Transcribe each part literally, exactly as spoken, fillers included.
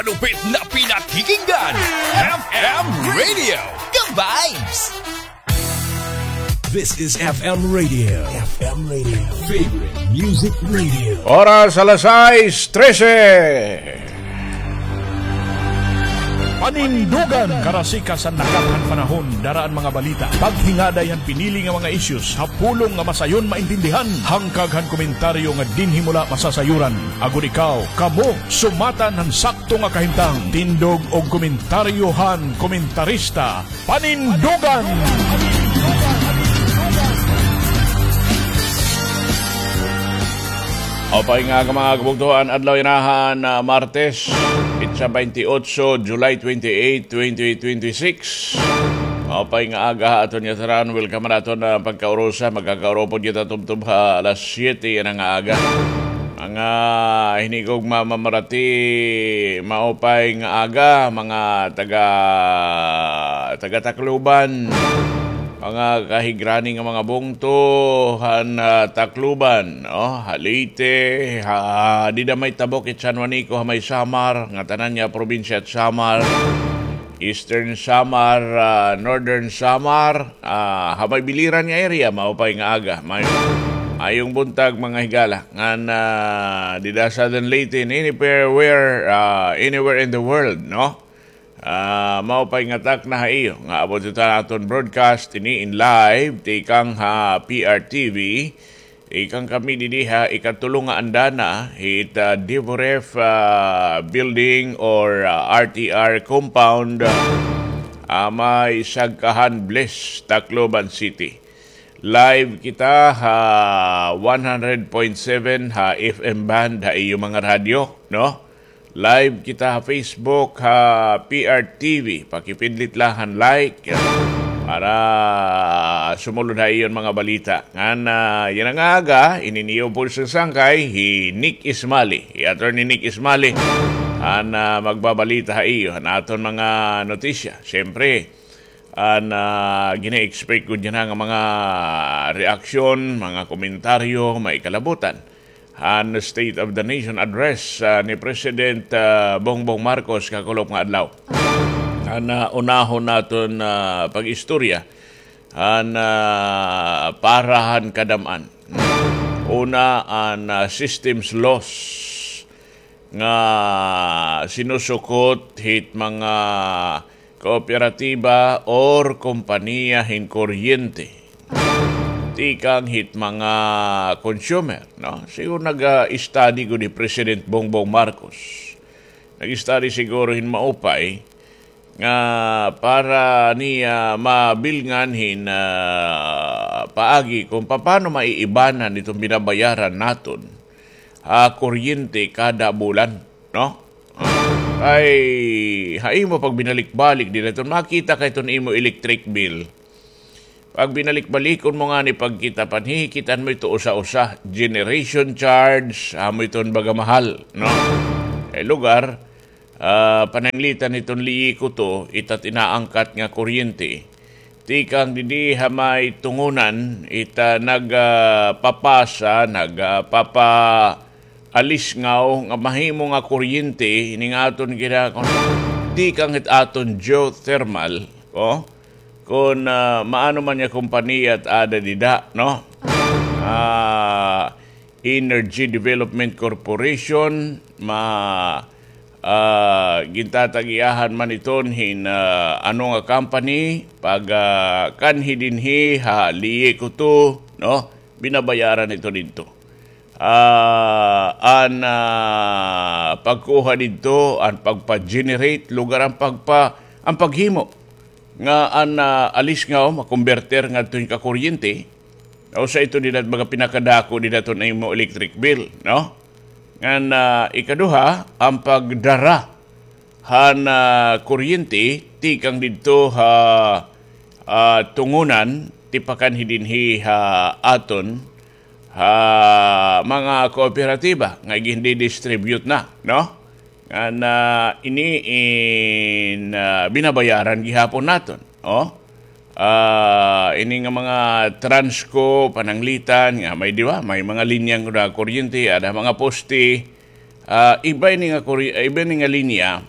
Malupit na pinakikinggan. F M Radio. Ka-vibes! This is F M Radio. F M Radio. Favorite Music Radio. Oras alas sais trese. Panindugan, karasikas han nakat han panahon, dara an mga balita, paghingaday han pinili nga mga issues, ha pulong nga masayon maintindihan, hangkag han komentaryo nga dinhi mo la masasayuran. Agod ikaw, kamo, sumatan han sakto nga kahimtang, tindog og komentaryo han komentarista, Panindugan! Maupay nga aga, mga kabugtoan, adlaw yana han, ah, Martes, petsa twenty-eight, July twenty-eight, twenty twenty-six. Maupay nga aga ha aton ngatanan. Welcome ha aton, ah, pagkaurusa. Magkakaurupod kita tubtob ha alas siyete yana nga aga. Mga hinigugma, mga marati, maupay nga aga, mga taga, taga Tacloban, mga kahigrani nga mga bungto han, ah, Tacloban, no? Ha Leyte, ha, dida may tabok it San Juanico, ha may Samar, ngatanan nga probinsya it Samar, Eastern Samar, ah, Northern Samar, ah, ha may Biliran nga area, maupay nga aga. May, maayong buntag, mga higala. Ngan, ah, dida ha Southern Leyte, anywhere, ah, anywhere in the world, no? Ah, maupay nga takna ha iyo nga abot ito an aton broadcast ini in live tikang ha P R T V. Tikang kami didi ha ikatulo nga andana hit, ah, Devoref, ah, building or, ah, R T R compound, ah, may Sagkahan Bliss, Tacloban City. Live kita ha one hundred point seven ha F M band ha iyo mga radyo, no? Live kita ha Facebook, ha P R T V. Pakipindlit la han like para sumulod ha iyo an mga balita. Ngan, ah, yana nga aga, ini an iyo upod sangkay, hi Nick Ismali, hi Attorney Nick Ismali, an, ah, magbabalita ha iyo han aton mga notisya. Siyempre, an, ah, gina-expect gud yana nga mga reaksyon, mga komentaryo, may kalabutan han State of the Nation Address, ah, ni President, ah, Bongbong Marcos kakulop nga adlaw. An, ah, unahon naton, ah, pag-istorya han, ah, para han kadam-an. Una, an, ah, systems loss nga sinusukot hit mga kooperatiba or kompanya hin kuryente tikang hit mga consumer, no? Siguro nag-study gud hi President Bongbong Marcos. Nag-study siguro hin maupay nga para niya mabilngan hin, ah, paagi kon papaano maiibanan iton binabayaran naton ha kuryente kada bulan, no? Kay ha imo pagbinalik-balik dida iton makita ka iton imo electric bill. Pagbinalik-balikon mo ngani pagkita, panhihikitan mo ito usa-usa, generation charge, amo iton baga mahal, no? Kay lugar, ah, pananglitan hiton Leyte Cooto, ita it inaangkat nga kuryente. Tikang didi ha may Tungunan, ita nag, ah, papasa, nag, ah, papa-, alisngaw nga mahimo nga kuryente, ini nga aton gina-, tikang hit aton geothermal, o? Kon, ah, maano man nga kompanya it aada dida, no? Ah, Energy Development Corporation, ma-, ah, gintatag-iyahan man iton hin, ah, ano nga company, pag, ah, kanhi dinhi ha Leyte Cooto, no? Binabayaran ito didto. Ah, an, ah, pagkuha didto, an pagpa-generate, lugar an pagpa-, an paghimo nga an, ah, alisngaw makomberter ngadto hin kakuryente, usa ito dida it mga pinakadako dida iton imo electric bill, no? Ngan, ah, ikaduha, an pagdara han, ah, kuryente tikang didto ha, ah, Tungunan, tipakanhi dinhi ha aton, ha mga kooperatiba nga gindidistribute na, no? Ngan, ah, ini in, ah, binabayaran gihapon naton, o? Ah, ini nga mga Transco, pananglitan, nga may, di ba? May mga linya nga kuryente, ada mga poste, ah, iba ini nga kuri-, iba ini nga linya,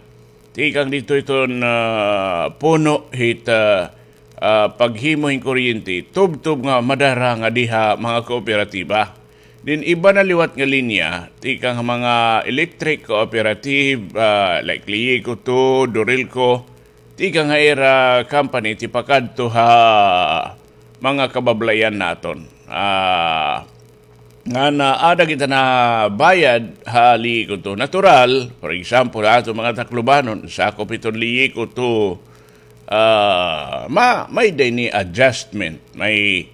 Tikang didto iton, ah, puno hit, ah, ah, paghimo hin kuryente, tubtob nga madara ngadi ha mga kooperatiba. Then iba na liwat nga linya, tikang ha mga electric cooperative, ah, like Liiko to, Dorelco, tikang ha ira company, tipakadto ha mga kabablayan naton. Ah, ngan ada kita nabayad ha Liiko to. Natural, for example, aton mga Taclobanon, sakop iton Liiko to, ah, ma-, may-ada ini adjustment, may,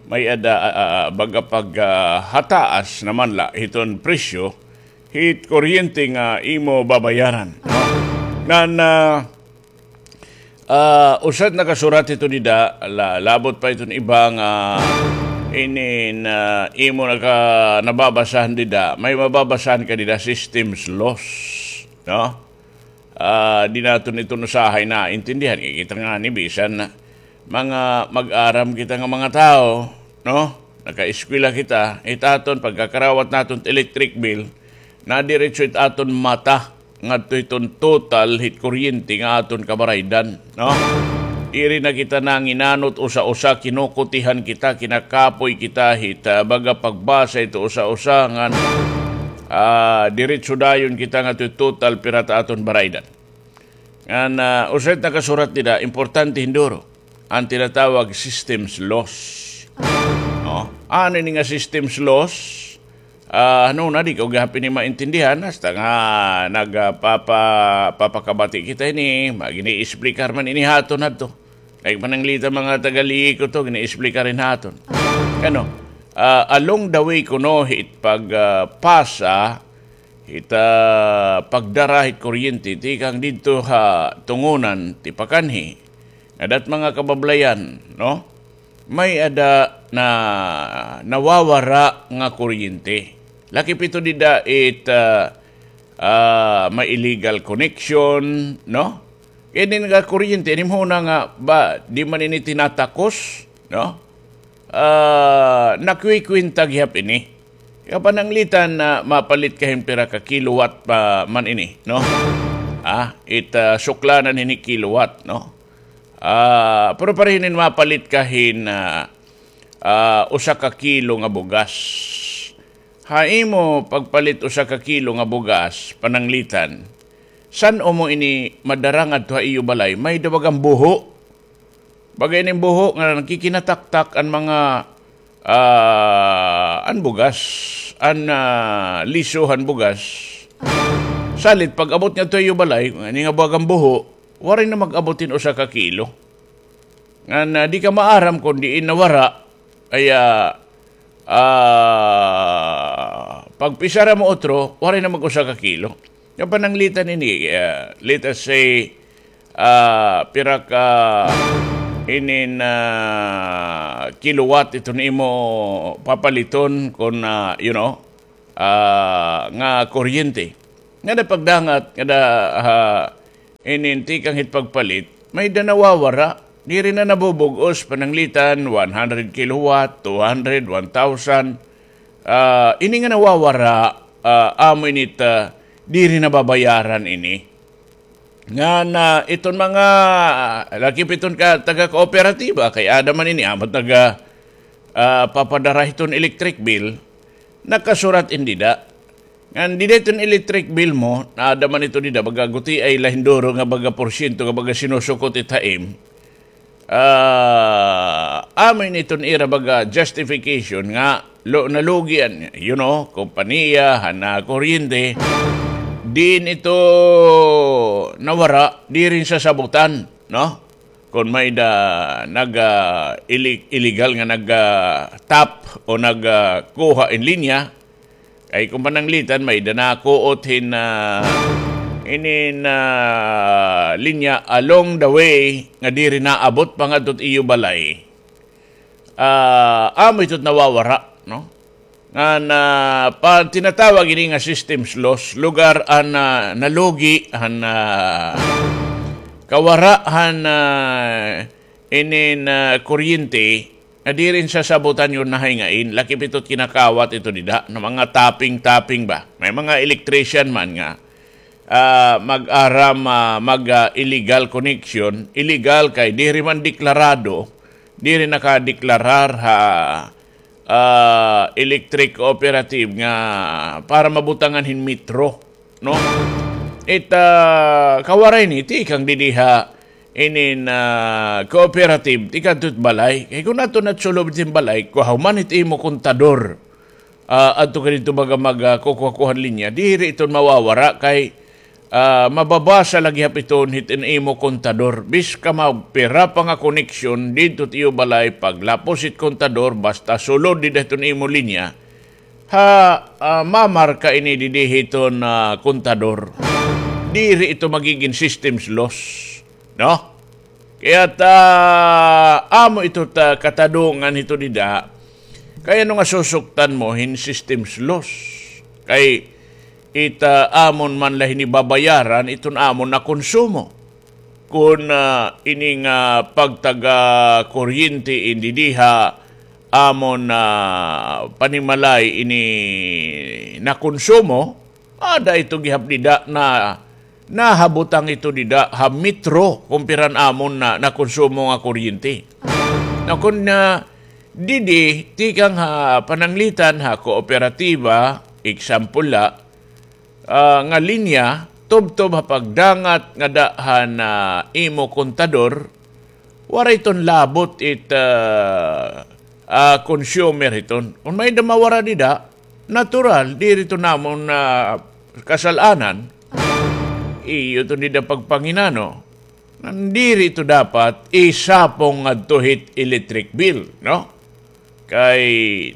may-ada, ah, ah, baga pag, ah, hataas naman la hiton presyo hit kuryente nga imo babayaran, no? Ngan, ah, Ah, usa it nakasurat hito dida, la-, labot pa iton iba nga inin, ah, imo naka-, nababasahan dida, may mababasahan ka dida, systems loss, no? Ah, di naton iton usahay naintindihan. Kay kita ngani, bisan mga mag-aram kita nga mga tawo, no? Nakaeskwela kita, it aton pagkakarawat naton it electric bill, nadiretso it aton mata ngadto hiton total hit kuryente nga aton kabaraydan, no? Iri na kita nanginanot usa-usa, kinukutihan kita, kinakapoy kita hit, ah, baga pagbasa hito usa-usa ngan, ah, diretso dayon kita ngadto hit total pira it aton baraydan. Ngan, ah, usa it nakasurat dida, importante hin duro, an tinatawag systems loss. No? Ano ini nga systems loss? Ah, ano na, di ko gihap ini maintindihan, hasta nga nag-, ah, papa-, papakabati kita ini, ma-, gini-explicar man ini ha aton hadto. Like, pananglitan mga taga Liiko to, gini-explicar ini ha aton. Ano, ah, along the way kuno hit pag, ah, pasa, hit, ah, pagdara hit kuryente, tikang didto ha Tungonan, tipakanhi, ngada it mga kabablayan, no? May-ada na nawawara nga kuryente. Lakip ito dida it, ah, ah, may illegal connection, no? Kay ini nga kuryente, ini mo na nga ba, di man ini tinatakos, no? Ah, nakwikwinta gihap ini. Kapananglitan na mapalit ka hin pira ka kilowatt pa man ini, no? Ah, it, ah, suklanan hini kilowatt, no? Ah, pero pareho hinin mapalit ka hin, ah, ah, usa ka kilo nga bugas. Ha imo pagpalit usa ka kilo nga bugas, pananglitan, san-o mo ini madara ngadto ha iyo balay, may-ada bagang buho. Baga ini buho nga nakikinataktak an mga, ah, an bugas, an, ah, liso han bugas. Salit pag-abot ngadto ha iyo balay, ini nga bagang buho, waray na mag-abot hin usa ka kilo. Ngan, ah, di ka maaram kon diin nawara, ay, ah, ah, pagpisara mo utro, waray na mag-usa ka kilo. Nga pananglitan ini, ah, let us say, ah, pira ka inin, ah, kilowatt iton imo papaliton kon, ah, you know, ah, nga kuryente. Ngada pagdangat, ngada, ah, inin tikang hit pagpalit, may-ada nawawara. Diri na nabubug-os, pananglitan, one hundred kilowatt, two hundred, one thousand. Ah, ini nga nawawara, ah, amo ini it, ah, diri nababayaran ini. Ngan iton mga, lakip iton ka, taga-kooperatiba, kay ada man ini, amo it naga, ah, papadara hiton electric bill, nakasurat ini dida. Ngan dida iton electric bill mo, naada man ito dida, baga gutiay la hin duro nga baga porsyento nga baga sinusukot it ha im. Ah, amo ini iton ira baga justification nga lo-, nalugi an, you know, kompanya han, ah, kuryente. Diin ito nawara, diri sasabutan, no? Kon may-ada nag, ah, ili-, illegal nga nag, ah, tap o nag, ah, kuha hin linya, kay kon pananglitan, may-ada nakuot hin, ah, inin, ah, linya along the way nga diri naabot pa ngadto it iyo balay. Ah, amo ito it nawawara, no? Ngan, ah, pa-, tinatawag ini nga systems loss, lugar an, ah, nalugi han, ah, kawara han, ah, inin, ah, kuryente, nga diri sasabutan yon nahayngain, lakip ito it kinakawat ito dida, nga mga tapping-tapping ba? May mga electrician man nga, ah, mag-aram, ah, mag, ah, illegal connection, illegal kay diri man deklarado, diri nakadeklarar ha, ah, electric cooperative nga para mabutangan hin metro, no? It, ah, kawaray ini, tikang didi ha inin, ah, cooperative, tikang adto hit balay. Kay kon adto na hit sulod hin balay, kuha human it imo kontador. Ah, adto ka didto baga mag, ah, kukuha-kuha hin linya, diri iton mawawara kay, ah, mababasa la gihap iton hit in imo kontador. Bisan ka magpira pa nga koneksyon didto hit iyo balay, paglapos hit kontador, basta sulod dida hiton imo linya, ha, ah, mamarka ini didi hiton, ah, kontador. Diri ito magigin systems loss, no? Kay ta, amo ito ta katadungan hito dida. Kay ano nga susuktan mo hin systems loss? Kay ita amon man la hini babayaran iton amon nakonsumo. Kon, ah, ini nga pagtaga kuryente in didi ha amon, ah, panimalay ini nakonsumo, ada ito gihap dida na nahabutang ito dida ha metro kon pira an amon na nakonsumo nga kuryente. Na kon, ah, didi, tikang ha pananglitan ha kooperatiba, example la, ah, nga linya, tubtob ha pagdangat ngada han, ah, imo kontador, waray iton labot it, ah, ah, consumer hiton. Kon may-ada mawara dida, natural, diri iton amon, ah, kasal-anan. Iyo iton dida pagpanginano. Ngan diri ito dapat isapong ngadto hit electric bill, no? Kay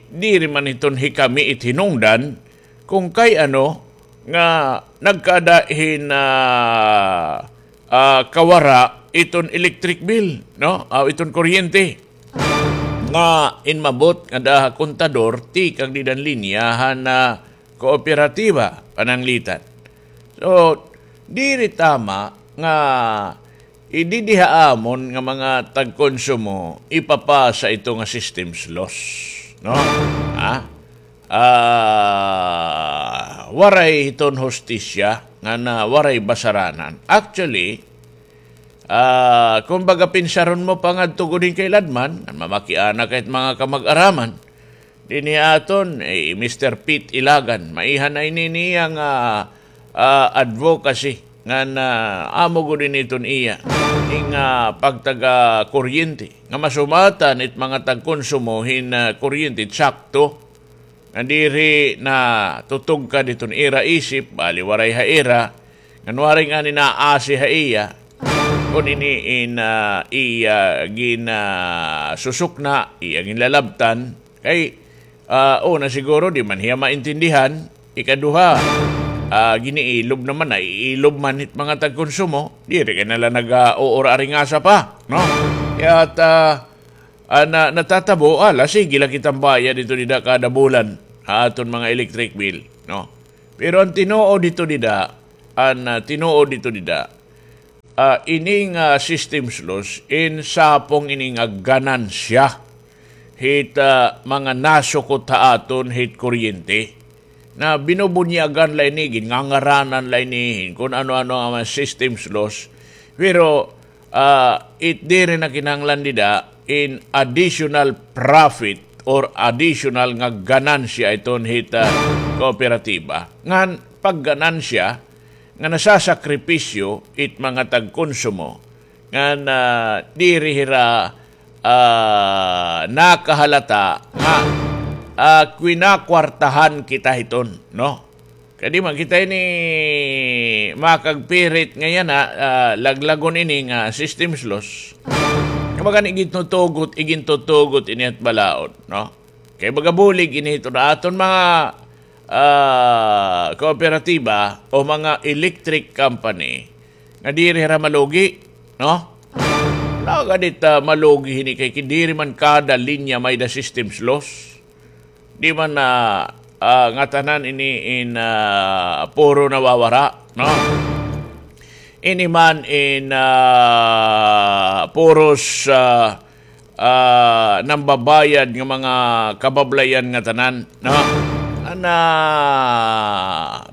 diri man hiton hikami it hinungdan kon kay ano nga nagkaada hin, ah, ah, kawara iton electric bill, no? Aw, iton kuryente. Nga inmabot ngada ha kontador, tikang dida han linya han, ah, kooperatiba, pananglitan. So, diri tama nga ididi ha amon nga mga tagkonsumo ipapasa ito nga systems loss, no? Ha? Ah, waray hiton hustisya ngan waray basaranan. Actually, ah, kumbaga, pinsaron mo pa ngadto gud hin kailadman, ngan mamakiana ka hit mga kamag-araman. Dinhi aton, eh, Mister Pete Ilagan, maiha na ini niya nga, ah, advocacy ngan, ah, amo gud ini iton iya. Ini nga pagtaga kuryente, nga masumatan it mga tagkonsumo hin, ah, kuryente, sakto. Nga diri na tutugkad iton ira isip, bali waray ha ira, ngan waray ngani naasi ha iya. Kon ini in, ah, iya gin, ah, susukna, iya ginlalabtan, kay, ah, una siguro, di man hiya maintindihan. Ikaduha, ah, giniilob naman, naiilob man hit mga tagkonsumo, diri kay na la nag-, ah, uura aringasa pa, no? Kay ta, ah, na, natatabo, ala, sige la kitang bayad ito dida kada bulan ha aton mga electric bill, no? Pero an tinuod ito dida, an, ah, tinuod ito dida, ah, ini nga systems loss, insapong ini nga ganansya hit, ah, mga nasukot ha aton hit kuryente. Na binubunyagan la ini, gingangaranan la ini hin kon ano-ano nga mga systems loss. Pero, ah, it diri na kinahanglan dida in additional profit or additional nga ganansya iton hit, ah, kooperatiba. Ngan pagganansya nga nasasakripisyo it mga tagkonsumo ngan, ah, diri hira, ah, nakahalata nga, ah, kinakwartahan kita hiton, no? Kay di man kita ini makagpirit nga yana, ah, laglagon ini nga systems loss. Nga baga ini igintutugot, igintutugot ini hit balaod, no? Kay baga bulig ini hiton aton mga, ah, kooperatiba o mga electric company nga diri hira malugi, no? Nagadi ta malugi hini kay diri man kada linya may-ada systems loss. Di man na, ah, ngatanan ini in, ah, puro nawawara, no? Ini man in, ah, puros, ah, ah, nambabayad nga mga kabablayan ngatanan, no? An Na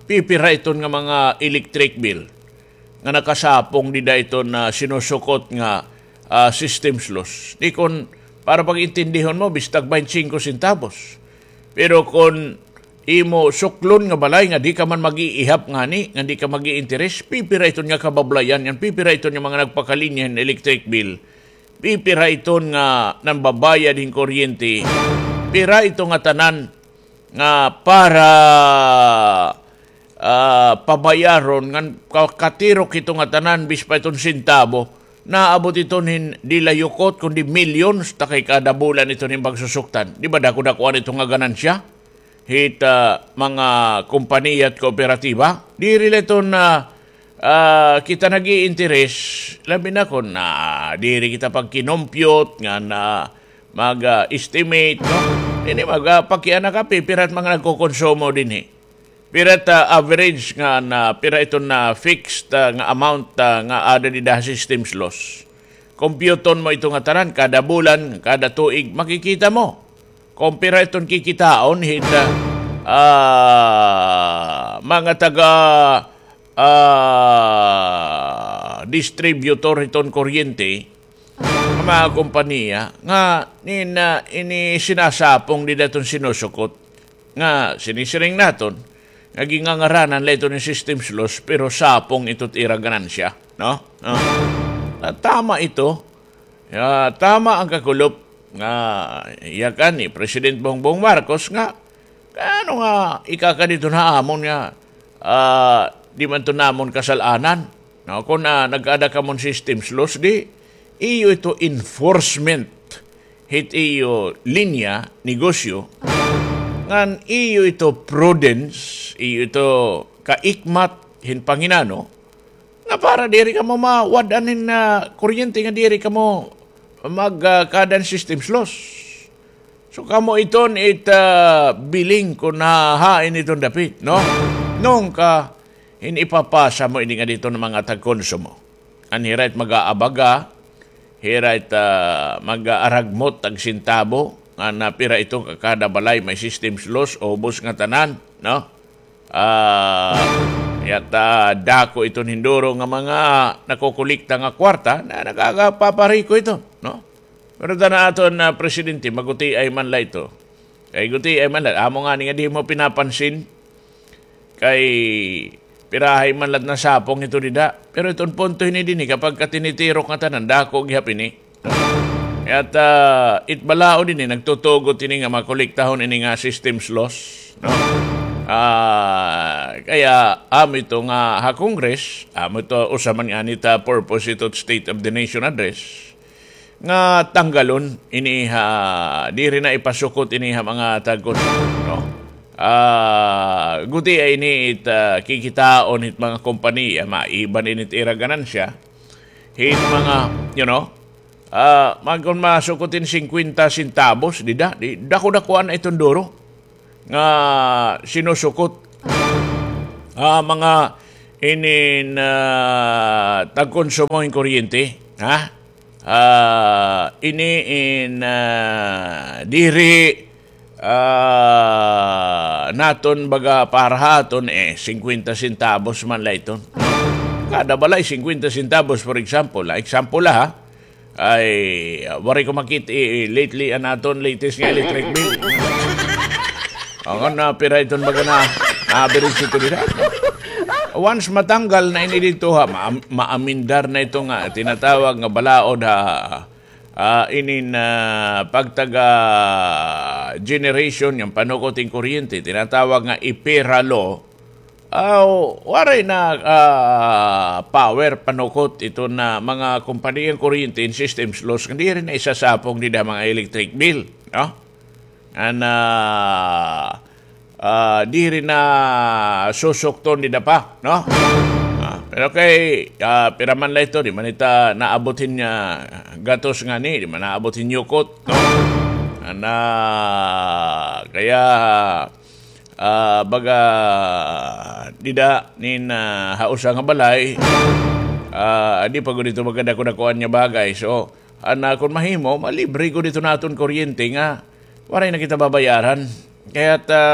pipira iton nga mga electric bill nga nakasapong dida iton, ah, sinusukot nga, ah, systems loss. Di kon para pag-intindihon mo, bistag baynte singko sentabos. Pero kon imo suklon nga balay nga di ka man mag-iihap ngani, nga di ka mag-iinteres, pipira iton nga kabablayan ngan, pipira iton nga mga nagpakalinya hin electric bill, pipira iton nga nambabayad hin kuryente, pira ito nga tanan nga para, ah, pabayaron ngan ka-, katirok ito nga tanan, bis pa iton sentabo, naabot iton hin diri la yukot, kundi millions, ta kay kada bulan iton hin pagsusuktan. Di ba dako-dakoan ito nga ganansya hit, ah, mga kompanya at kooperatiba? Diri la iton, ah, ah, kita nag-iinteres, labi na kon, ah, diri kita pagkinompyot ngan, ah, mag, ah, estimate, no? Ini mag, ah, pakiana ka, pipira it mga nagkokonsumo dinhi. Pira it, ah, average nga na, pira iton na fixed, ah, nga amount, ah, nga aada dida ha systems loss. Kompyuton mo ito nga tanan, kada bulan, kada tuig, makikita mo kon pira iton kikitaon hit, ah, ah, mga taga, ah, distributor hiton kuryente, nga mga kompanya nga nin, ah, ini sinasapong dida iton sinusukot nga sinisiring naton nga gingangaranan la ito hin systems loss, pero sapong ito it ira ganansya, no? No? Ah, tama ito. Ya, tama an kakulop nga yakan ni President Bongbong Marcos nga, ano nga ikakadi iton ha amon nga, ah, di man ito namon kasal-anan. No, kon, ah, nag-aada kamo hin systems loss, di iyo ito enforcement hit iyo linya negosyo, ngan iyo ito prudence, iyo ito kaikmat hin panginano, nga para diri kamo mawad-an hin, ah, kuryente nga diri kamo mag, ah, kaada hin systems loss. So, kamo iton it, ah, biling kon ha, hain iton dapit, no? Nungka, hin ipapasa mo ini ngadto han mga tagkonsumo. An hira it mag-aabaga, hira it, ah, mag-aaragmot tag sentabo, nga na pira ito ka kada balay may systems loss, ubos nga tanan, no? Ah, yata dako iton hinduro nga mga nakokolekta nga kwarta na nagagapapariko ito, no? Pero tana aton, ah, presidente, magutiay man la ito. Kay gutiay man la, amo ngani nga di mo pinapansin. Kay pirahay man la it nasapong ito dida. Pero iton punto hini dinhi, kapag ka tinitirok nga tanan, dako gihap ini. At, ah, it balaod ini, nagtutugot ini nga makolektahon ini nga systems loss, no? Ah, kaya amo ito nga ha Congress, amo ito usa man ngani it purpose ito State of the Nation Address, nga tanggalon ini ha, diri na ipasukot ini ha mga tagkon, no? Ah, gutiay ini it, ah, kikitaon hit mga kompanya, maiban ini it ira ganansya. Hit mga, you know, ah, mag-, kon masukot hin singkwenta sentabos, dida, di, dako-dakoan na iton duro nga sinusukot. Ah, mga inin, ah, tagkonsumo hin kuryente, ha? Ah, ini in, ah, diri, ah, naton baga para ha aton, eh, singkwenta sentabos man la iton. Kada balay, singkwenta sentabos, for example, ah, example la, ha? Ay, ah, waray ko makit-, eh, lately, an aton latest nga electric bill. Ang, ah, pira iton baga na, na-average ito dida. Once matanggal na ini dito, ha, ma-, maamendar na ito nga tinatawag nga balaod, ha, ah, inin, ah, pagtaga generation, yung panukot hin kuryente, tinatawag nga EPIRA law. Aw, waray na, ah, power panukot ito na mga kompanya hin kuryente hin systems loss, nga diri na isasapong dida mga electric bill, no? An, ah, ah, diri na susukton dida pa, no? Ah, pero kay, ah, pira man la ito, di man ita naabot hin, ah, gatos ngani, di man naabot hin yukot, no? An, ah, kaya, ah, baga dida nin, ah, ha usa nga balay, ah, di pa gud ito baga dako-dakoan nga bagay. So, an, ah, kon mahimo, malibre gud ito naton kuryente nga waray na kita babayaran. Kaya ta,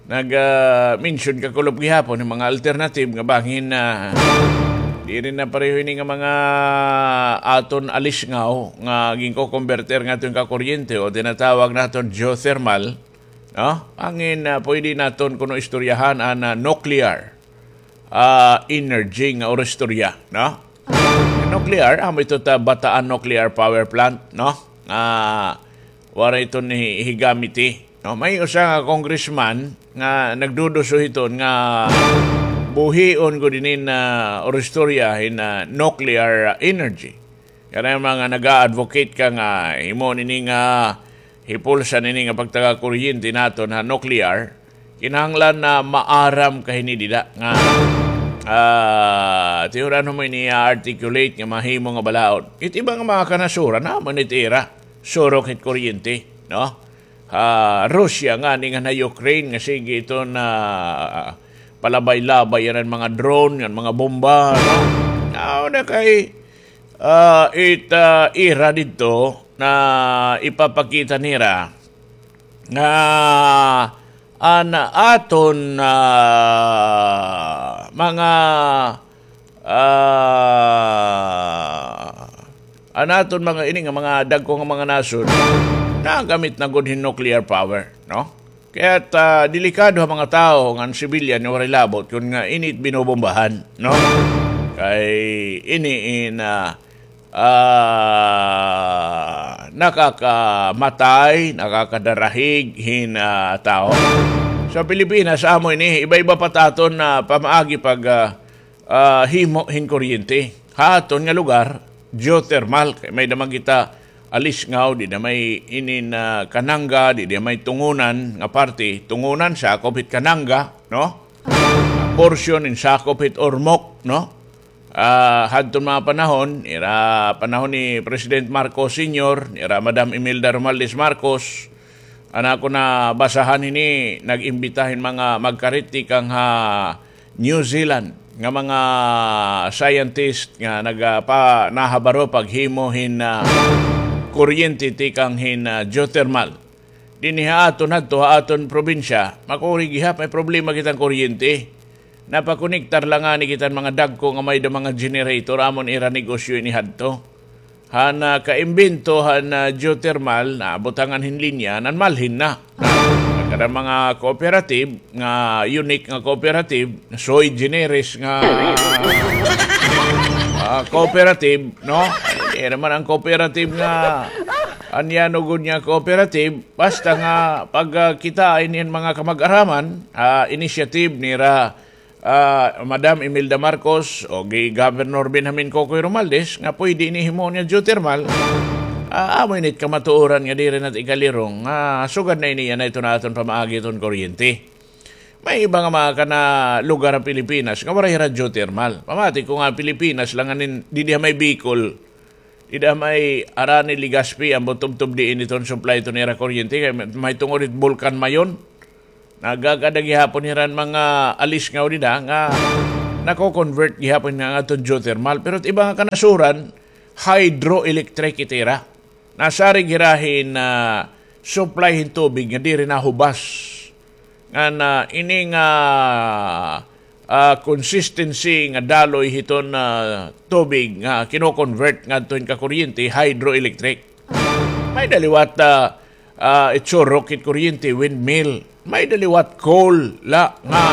nag, ah, mention kakulop gihapon hin mga alternative nga bangin, ah, diri na pareho ini nga mga aton alisngaw nga ginko-converter ngadton kakuryente o tinatawag naton geothermal, no? Bangin, ah, pwede naton kuno istoryahan an, ah, nuclear, ah, energy nga oristorya, no? Nuclear, amo ito ta Bataan Nuclear Power Plant, no? Nga waray ito ni higamiti, no? May usa nga congressman nga nagduduso hiton nga buhion gud inin, ah, oristorya hin, ah, nuclear energy. Kanay mga nag-a-advocate ka nga himo nini nga hipulsan ini nga pagtaga kuryente naton ha nuclear, kinahanglan na maaram ka hini dida nga, ah, tihuran mo ini i-articulate nga mahimo nga balaod. It iba nga mga kanasuran, amo ni it ira surok hit kuryente, no? Ha Russia ngani ngan ha Ukraine nga sige iton palabay-labay yana hin mga drone, ngan mga bomba, no? Aw na kay, ah, it, ah, ira didto na ipapakita nira nga an aton, ah, mga, ah, an aton mga ini nga mga dagko nga mga nasod nagamit na gud hin nuclear power, no? Kaya, ah, delikado ha mga tawo ngan civilian nga waray labot kun nga ini it binobombahan, no? Kay ini in, ah, ah, nakakamatay, nakakadarahig hin, ah, tawo. Sa Pilipinas, amo ini, iba-iba pa it aton, ah, pamaagi pag, ah, ah, himo hin kuryente. Ha aton nga lugar, geothermal. Kay may-ada man kita alisngaw, dida may inin, ah, Kananga, dida may Tungunan nga parte. Tungunan, sakop hit Kananga, no? Portion in sakop hit Ormoc, no? Ah, hadton mga panahon, ira panahon ni President Marcos Senior, ira Madam Imelda Romualdez Marcos, an ako nabasahan hini, nag-imbita hin mga magkarit tikang ha New Zealand nga mga scientist nga nagapa-, nahabaro paghimo hin, ah, kuryente tikang hin, ah, geothermal. Dinhi ha aton hadto ha aton probinsya, makuri gihap may problema kita hin kuryente. Napakonektar la ngani kita hin mga dagko nga may-ada mga generator, amo an ira negosyo ini hadto. Han, ah, kaimbento han, ah, geothermal, nabutangan hin linya, nanmalhin na. Nagkaroon mga cooperative, nga unique nga cooperative, sui generis nga, ah, cooperative, no? Diri man an cooperative nga, an iya nugod nga cooperative, basta nga pagkita ini hin mga kamag-araman, ah, initiative nira, ah, Madam Imelda Marcos o gi Governor Benjamin Cocoy Romualdez nga pwede ini himo niya geothermal, ah, amo ini it kamatuoran nga diri na it ikalirong, ah, sugad na ini yana ito na aton pamaagi iton kuryente. May iba nga mga kana lugar ha Pilipinas nga waray hira geothermal. Pamati ko nga Pilipinas la nganin, didi ha may Bicol, dida may Arani, Legazpi, ambot tubtob diin iton supply iton ira kuryente kay may, may tungod it Bulkan Mayon. Nagagada gihapon hira hin mga alisngaw dida nga nako-convert gihapon nga aton geothermal. Pero it iba nga kanasuran, hydroelectric it ira. Nasarig hira hin, ah, supply hin tubig nga diri nahubas. Ngan, ah, ini nga, ah, consistency nga daloy hiton, ah, tubig nga kino-convert ngadto hin kakuryente, hydroelectric. May-ada liwat, ah, ah, itsurok hit kuryente, windmill. May-ada liwat coal la nga,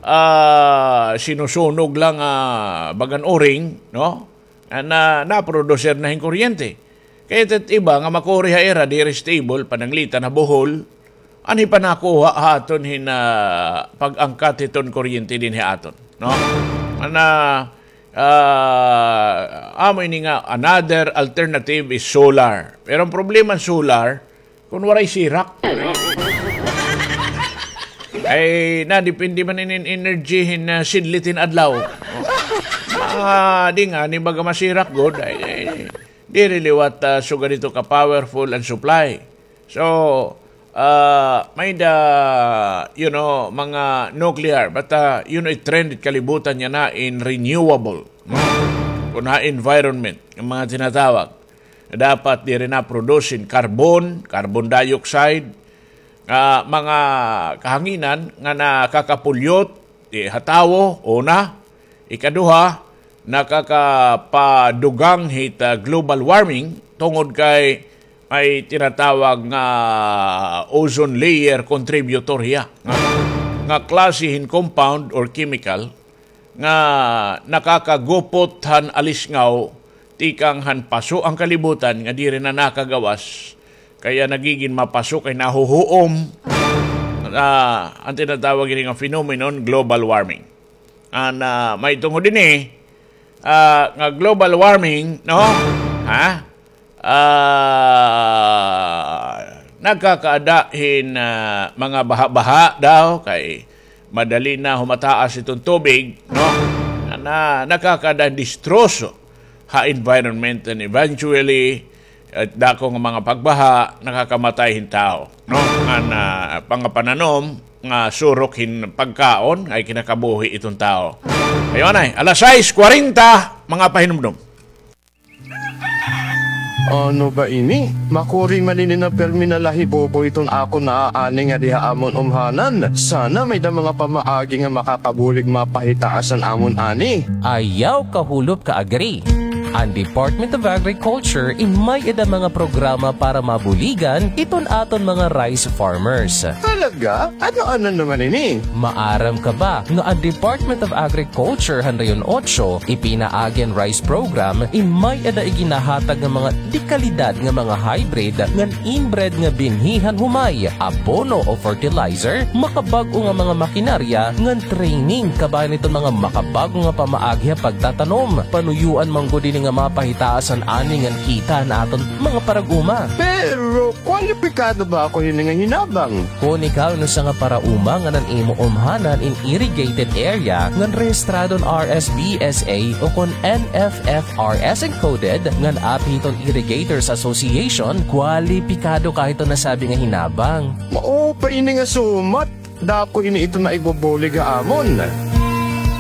ah, sinusunog la nga bagan uring, no? An, ah, naproducer na hin kuryente. Kay it iba nga makuri ha ira diri stable, pananglitan ha Bohol, an hipanakuha ha aton hin, ah, pag-angkat hiton kuryente dinhi ha aton, no? An, ah, ah, amo ini nga another alternative is solar. Pero an problema hin solar, kun waray sirak. Ay, nadepende man inin energy hin, ah, sidlit hin adlaw. Ah, di ngani baga masirak gud. Ay, ay, diri liwat, ah, sugad ito ka-powerful an supply. So, ah, may-ada, you know, mga nuclear, but, ah, you know, it trend it kalibutan yana in renewable, no? Kun ha environment, an mga tinatawag. Dapat diri na produce hin carbon, carbon dioxide, nga mga kahanginan nga nakakapulyot, eh, ha tawo, una. Ikaduha, nakakapadugang hit, ah, global warming tungod kay may tinatawag nga ozone layer contributor hiya. Nga, nga klase hin compound or chemical nga nakakagupot han alisngaw tikang han paso an kalibutan nga diri na nakagawas, kaya nagigin mapaso kay nahuhuom, ah, an tinatawag ini nga phenomenon, global warming. An, ah, may tungod ini, ah, nga global warming, no? Ha? Ah, nagkakaada hin, ah, mga baha-baha daw, kay madali na humataas iton tubig, no? Na, na, nakakaada hin distroso ha environment, and eventually, ah, dako nga mga pagbaha, nakakamatay hin tawo, no? An, ah, mga pananom nga surok hin pagkaon nga ikinakabuhi iton tawo. Ayun ay, alas sais kwarenta, mga pahinumdom. Ano ba ini? Makuri man ini nga pirmi na lahibobo iton akon naaaning ngadi ha amon umhanan. Sana may-ada mga pamaagi nga makakabulig mapahitaas an amon ani. Ayaw kahulop ka-agri. An Department of Agriculture in may-ada mga programa para mabuligan iton aton mga rice farmers. Talaga? Ano-ano naman ini? Maaram ka ba nga an Department of Agriculture han Rehiyon Otso ipinaagi an rice program in may-ada iginahatag nga mga dekalidad nga mga hybrid ngan inbred nga binhi han humay, abono o fertilizer, makabag-o nga mga makinarya ngan training kabahin iton mga makabag-o nga pamaagi ha pagtatanom. Panuyuan man gud ini nga mapahitaas an ani ngan kita han aton mga parag-uma. Pero kwalipikado ba ako hini nga hinabang? Kon ikaw in usa nga parauma ngan an imo umhanan in irrigated area ngan rehistrado han R S B S A ukon N F F R S encoded ngan aphi hiton Irrigators Association, kwalipikado ka hiton nasabi nga hinabang. Maupay ini nga sumat. Dako ini iton maibubulig ha amon.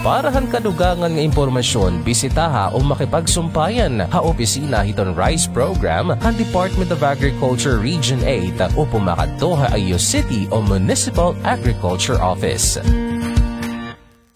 Para han kadugangan nga impormasyon, bisitaha o makipagsumpayan ha opisina hiton rice program han Department of Agriculture Region eight o pumakadto ha iyo city o municipal agriculture office.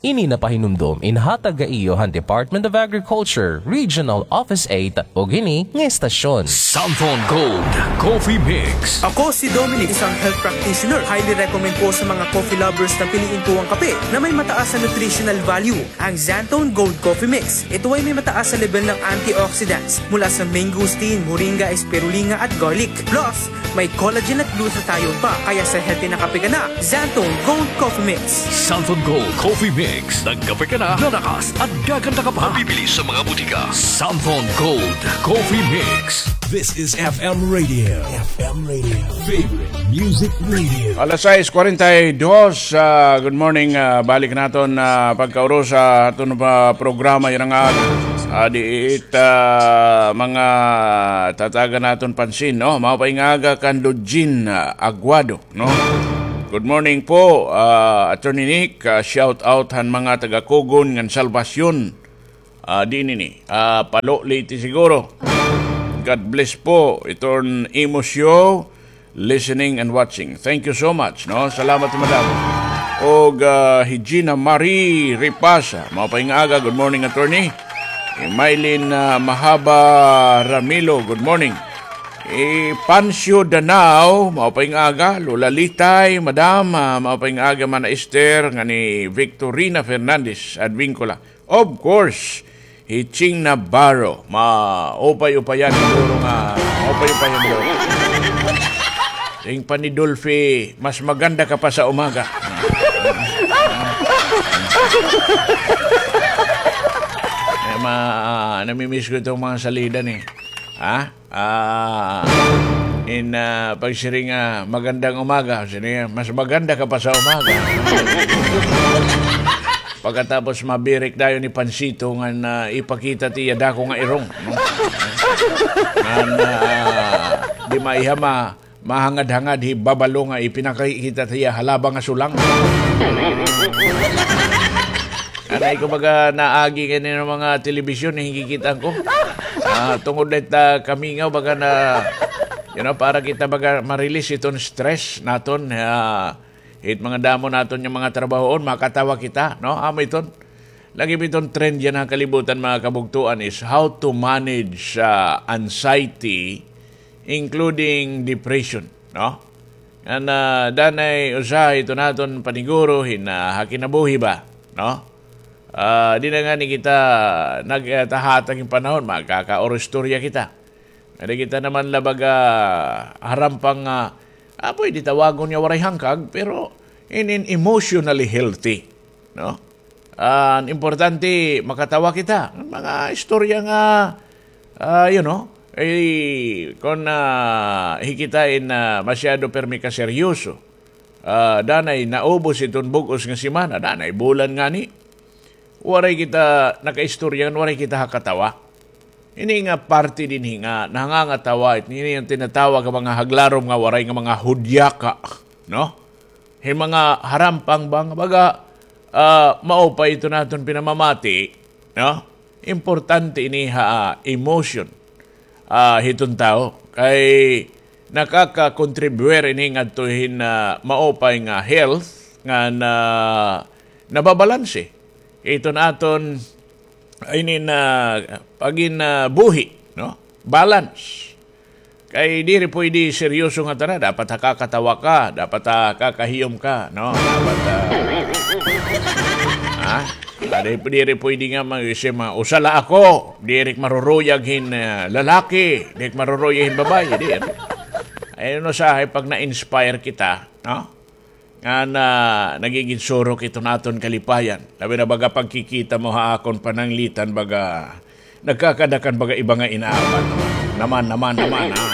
Ini nga pahinumdom inhatag ha iyo han Department of Agriculture Regional Office eight ug ini nga estasyon. Santhon Gold Coffee Mix. Ako si Dominic, isang health practitioner. Highly recommend ko sa mga coffee lovers na piliin ko ang kape na may mataas na nutritional value, ang Xanthone Gold Coffee Mix. Ito ay may mataas na level ng antioxidants mula sa mangosteen, moringa, spirulina at garlic. Plus, may collagen at glutathione pa, kaya sa healthy na kape ka na, Xanthone Gold Coffee Mix. Santhon Gold Coffee Mix. Nagkape ka na, lalakas at gaganda ka pa. Mabibili sa mga butika. Santhon Gold Coffee Mix. This is F M Radio. F M Radio. Favorite Music Radio. Alas sais kwarenta y dos, ah, good morning, ah, balik naton, ah, pagkauro sa aton pa programa yana nga aga. Ah, di it, ah, mga tatagan naton pansin, no? Maupay nga aga kan Lujin, ah, Aguado, no? Good morning po, ah, Attorney Nick. Ah, shout out han mga taga Cogon ngan Salvacion. Ah, di nini. Ah, Palo, Leyte siguro. God bless po. Iton imo show, listening and watching. Thank you so much, no? Salamat, madam. Og, ah, hi Gina Marie Ripasa. Maupay nga aga. Good morning, attorney. Hi Mylene, ah, Mahaba Ramilo. Good morning. Hi Pancio Danao. Maupay nga aga. Lola Litay, madam. Ah, maupay nga aga, Mana Esther, ngan ni Victorina Fernandez Advincula. Of course, hi Ching Navarro. Maupay-upayan siguro nga, maupay-upayan daw. Siring pa ni Dolphy, mas maganda ka pa sa umaga. Eh, ma-, namimiss ko itong mga salida ni. Ha? Ah, in, ah, pagsiring, ah, "Magandang umaga." Siring, "Mas maganda ka pa sa umaga." Pagkatapos mabirik dayon ni Pansito nga na ipakita tiya dako nga irong, no? Nga, ah, di maiha ma-, mahangad-hangad hi Babalo nga ipinakita tiya halaba nga sulang. Anay ko baga naagi kay nino mga telebisyon, eh, hikikitaan ko. Ah, tungod na ita kamingaw, baga na, You know, para kita baga ma-release iton stress naton, ah, it mga damo naton nga mga trabahoon, makatawa kita, no? Amo iton. Lagi pa iton trend yana ha kalibutan, mga kabugtoan, is how to manage, ah, anxiety, including depression, no? Ngan, ah, danay usa iton aton paniguro hin, ah, ha kinabuhi ba, no? Ah, di na ngani kita nagtahatag hin panahon, magkakaoristorya kita. Ngani kita naman la baga harampang, ah, ah, pwede tawagon nga waray hangkag, pero in, in emotionally healthy, no? Ah, an importante, makatawa kita. An mga istorya nga, ah, you know, eh, kon, ah, hi kita in, ah, masyado pirmi ka seryoso. Ah, danay naubos iton bug-os nga semana, danay bulan ngani. Waray kita nakaistorya, waray kita ha katawa. Ini nga parte dinhi nga nangangatawa, ini an tinatawag nga mga haglarom nga waray nga mga hudyaka, no? Hin mga harampang ba nga baga, ah, maupay iton aton pinamamati, no? Importante ini ha, ah, emotion, ah, hiton tawo. Kay nakaka-contribute ini ngadto hin, ah, maupay nga health nga na, nababalanse iton aton, inin, ah, pagin, ah, buhi, no? Balance. Kay diri pwede seryoso nga tanan. Dapat ha kakatawa ka, dapat ha kakahiyom ka, no? Dapat, ah, ha? Ah, di, diri pwede nga mag-, usa la ako, diri ak maruruyag hin, ah, lalaki, diri ak maruruyag hin babaye, di, ano? Ay, ano sa, ay, pag na-inspire kita, no? Nga na, nagigin surok iton aton kalipayan. Labi na baga pagkikita mo ha akon pananglitan, baga nagkakadakan baga iba nga inaaban. Naman, naman, naman, ha?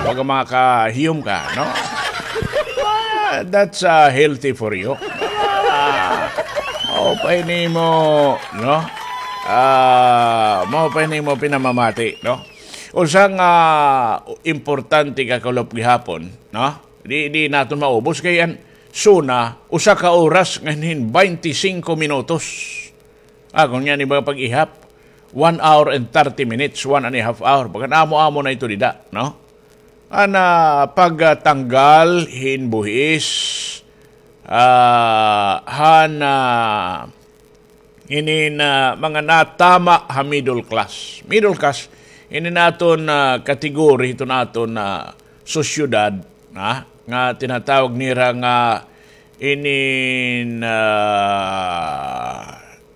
Baga makahiyom ka, no? Ah, that's, ah, healthy for you. Ah, maupay nimo, no? Ah, maupay nimo pinamamati, no? Usa nga importante kakulop gihapon, no? Di, di naton maubos kay an SONA, usa ka oras ngan hin baynte singko minutos. Ah, kon yana ba pag-ihap, one hour and thirty minutes, one and a half hour. Bagan amo-amo na ito dida, no? An, ah, pagtanggal hin buhis, ah, han, ah, ini na mga natama ha middle class. Middle class, ini naton, ah, category, ito naton, ah, sosyedad, ha? Nga tinatawag nira nga ini na,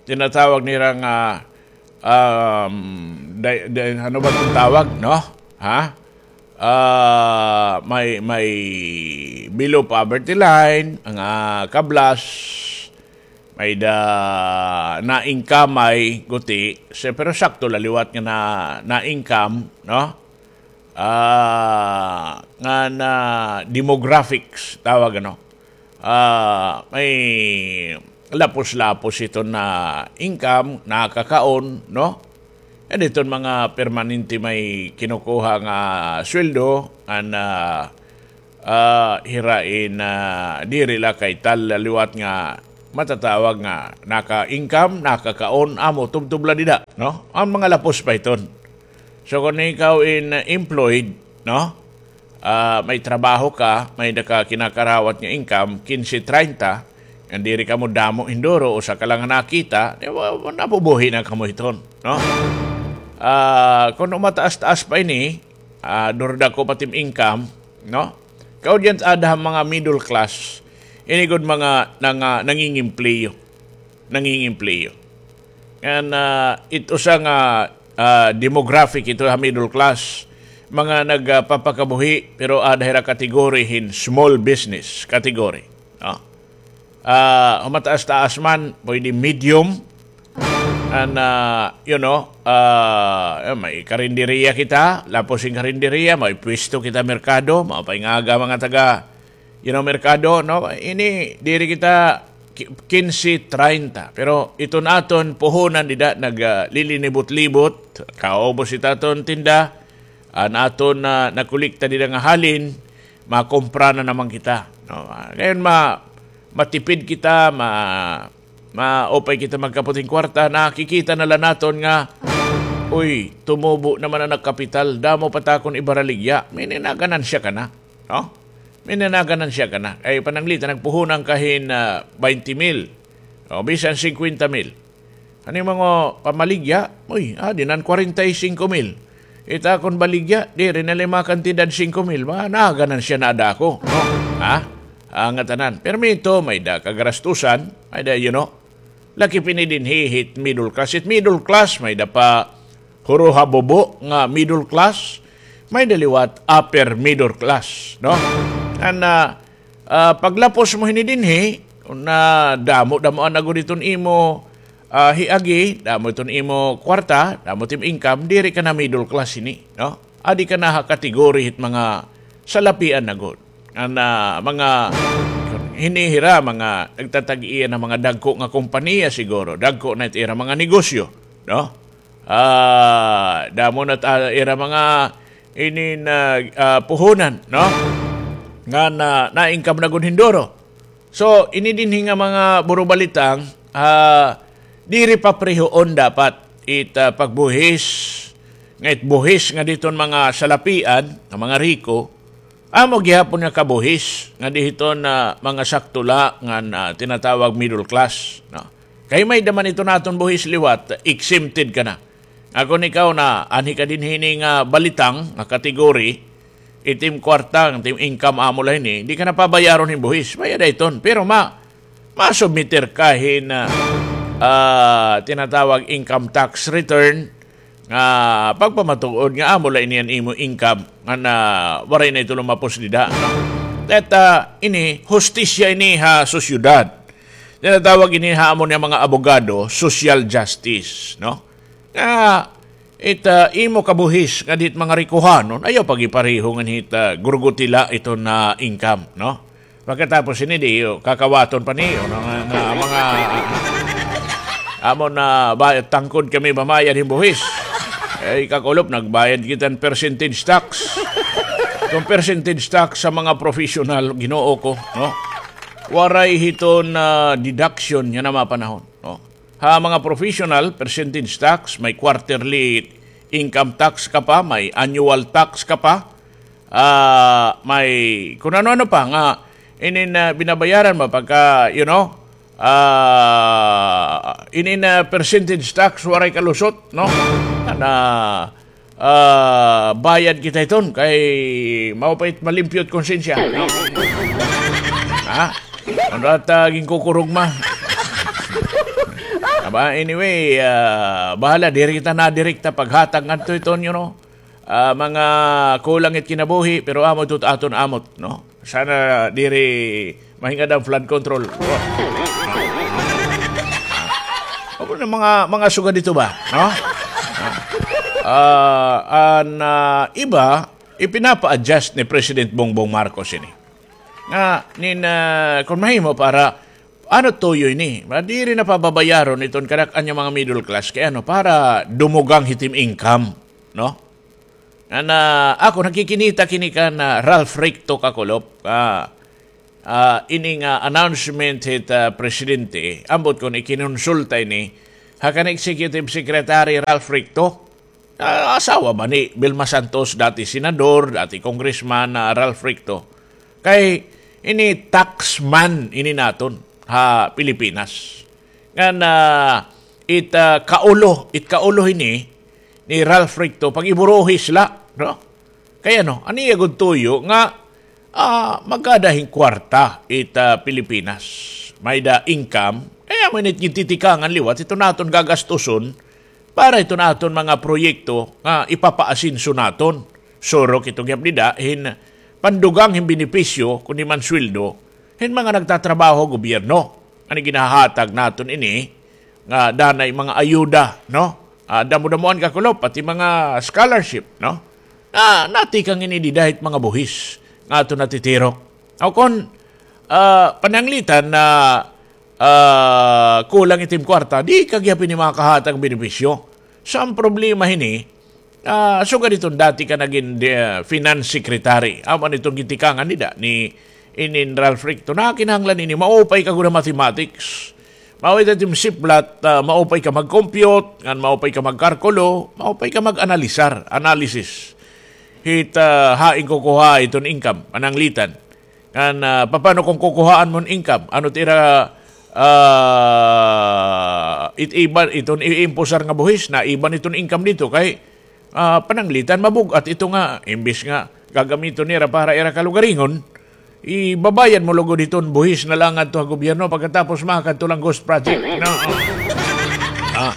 tinatawag nira nga, um, di, di, ano ba itong tawag, no? Ha? Ah, may, may below poverty line, mga kablas, may-ada na-income, may guti, se-, pero sakto la liwat nga na, na-income, no? Ah, nga na demographics, tawag, ano? Ah, may lapos-lapos ito na income, nakakaon, no? An iton mga permanente may kinukuha nga sweldo, an, ah, ah, hira in, ah, diri la kay tal la liwat nga matatawag nga naka-income, nakakaon, amo, tubtob la dida, no? An mga lapos pa iton. So, kon ikaw in, ah, employed, no? Ah, may trabaho ka, may-ada ka kinakarawat nga income, kinse, traynta, ngan diri kamo damo hinduro, usa ka lang nakita, di ba, nabubuhi na kamo hiton, no? Ah, kon umataas-taas pa ini, ah, durdako pa it im income, no? Kaudyan ada ha mga middle class, ini gud mga nanga-, nangingempleyo. Nangingempleyo. Ngan, ah, it usa nga, ah, demographic ito ha middle class, mga nagpapakabuhi, pero ada hira category hin small business category, no? Ah, humataas-taas man, pwede medium, an, ah, you know, ah, may karinderiya kita, lapos hin karinderiya, may pwesto kita merkado, maupay nga aga mga taga, you know, merkado, no? Ini, diri kita ki-, kinse, traynta. Pero iton aton puhunan dida, nag, ah, lilinibot-libot, kaubos it aton tinda, an aton, ah, nakolekta dida nga halin, makompra na naman kita, no? Ah, ngayon, ma-, matipid kita, ma-, maupay kita magkapot hin kwarta, nakikita na la naton nga Uy, tumubo naman an kapital, damo pa ta kon ibaraligya. May nanaganansya ka na, no? May nanaganansya ka na. Kay pananglitan, nagpuhunan ka hin, ah, twenty mil. O, bisan singkwenta mil. Ano yung mga pamaligya? Uy, ah, dinan kwarenta y singko mil. Ita kon baligya, diri na lima kantidad singko mil. Mga naganansya na ada ako, no? Ha? Ang atanan. Permito, may da kagarastusan, may da, you know, laki pini dinhi hit middle class. Hit middle class, may da pa huruha bubo nga middle class, may da liwat upper middle class, no? An, ah, ah, paglapos mo hini dinhi, na damo-damo an agod iton imo, ah, hiagi, damo iton imo kwarta, damo it im income, diri ka na middle class hini, no? Adi ka na ha category hit mga salapian na gud. An, ah, mga hini hira, mga nagtatag-iya na mga dagko nga kompanya siguro, dagko na it ira mga negosyo, no? Ah, damo na ta-, ira mga ini na, ah, puhunan, no? Nga na, na-income na gud hin duro. So, ini dinhi nga mga burubalitang, ah, diri paprehoon dapat it, ah, pagbuhis, nga it buhis nga diton mga salapian, nga mga riko, amo gihapon nga kabuhis nga dihiton na mga sakto la nga, ah, tinatawag middle class, no? Kay may da man iton aton buhis liwat, exempted ka na. Nga kon ikaw na anhi ka dinhi hini nga balitang nga category, it im kwarta, it im income amo la hini, di ka na pabayaron hin buhis. Bayad iton. Pero ma-, masubmitir ka hin, ah, ah, tinatawag income tax return, nga pagpamatuod nga amo la ini an imo income, nga na waray na ito lumapos dida, no? At, ah, ini, hustisya ini ha sosyedad. Tinatawag ini ha amon nga mga abogado, social justice, no? Nga, it, ah, imo kabuhis nga dit mga rikuhanon, ayaw pagipareho ngan hit, ah, gurgutila iton na income, no? Pagkatapos ini, di, oh, kakawaton pa niyo, no, nga, nga mga, ah, amo na ba, tangkod kami mamayad hin buhis. Ay, kakulop, nagbayad kita hin percentage tax. Kon percentage tax sa mga professional, Ginoo ko, no? Waray hiton, ah, deduction yana nga mga panahon, no? Ha mga professional, percentage tax, may quarterly income tax ka pa, may annual tax ka pa, ah, may kun ano-ano pa nga inin, ah, binabayaran mo pagka, you know, ah, inin, ah, percentage tax, waray ka lusot, no? Na, ah, bayad kita iton kay mao pa it malimpyo it konsensya. Ha? Ano at, ah, ginkukurugma? Aba, anyway, ah, bahala, diri kita nadirekta paghatag ngadto iton, you know, ah, mga kulang it kinabuhi, pero amo ito aton amot, no? Sana diri mahingad an flood control. Amo na mga, mga sugad ito ba, no? Ah, an, ah, iba, ipinapa-adjust ni President Bongbong Marcos ini. Nga, nin, ah, kon mahimo para, ano, tuyo ini? Ma-, diri na pababayaron iton kanak-an nga mga middle class. Kay ano, para dumugang hit im income, no? Nga na, ako, nakikinita kini kan Ralph Recto, kakulop. Ah, ah, ini nga announcement hit, ah, presidente, ambot kon ikinonsulta ini ha kan Executive Secretary Ralph Recto, ah, asawa ba ni Vilma Santos, dati senador, dati congressman, ah, Ralph Recto. Kay ini taxman ini naton ha Pilipinas. Ngan, ah, it, ah, kaulo, it kaulo ini ni Ralph Recto, pag-iburuhis la, no? Kay ano, an iya gud tuyo nga, ah, magkada hin kwarta it, ah, Pilipinas. May-ada income, kay amo ini it gintitikangan liwat iton aton gagastuson para iton aton mga proyekto nga ipapaasenso naton. Surok ito gihap dida hin pandugang hin benepisyo, kundi man sweldo, hin mga nagtatrabaho ha gobyerno. An ginhahatag naton ini, nga danay mga ayuda, no? Ah, damo-damoan, kakulop, pati mga scholarship, no? Na, natikang ini dida hit mga buhis nga aton natitirok. Aw kon, ah, pananglitan na, ah, kulang it im kwarta, di ka gihap ini makahatag benepisyo. So, an problema hini, ah, sugad iton dati ka nagin, ah, finance secretary. Amo iton gitikangan dida ni inin Ralph Recto. Nakinahanglan ini, maupay ka gud ha mathematics. Mao ito it im siplat, ah, maupay ka mag-compute, ngan maupay ka magkarkulo, maupay ka mag-analisar, analysis. Hit, ah, hain kukuhaa iton income, pananglitan. Ngan, ah, papano kon kukuhaan mo an income? Ano it ira, ah, it iban, iton iimpusar nga buhis, naiban iton income didto kay, ah, pananglitan mabug-at ito nga, imbis nga gagamiton nira para ira kalugaringon, ibabayad mo lugod hiton buhis na la ngadto ha gobyerno, pagkatapos makadto la han ghost project. No. Ah,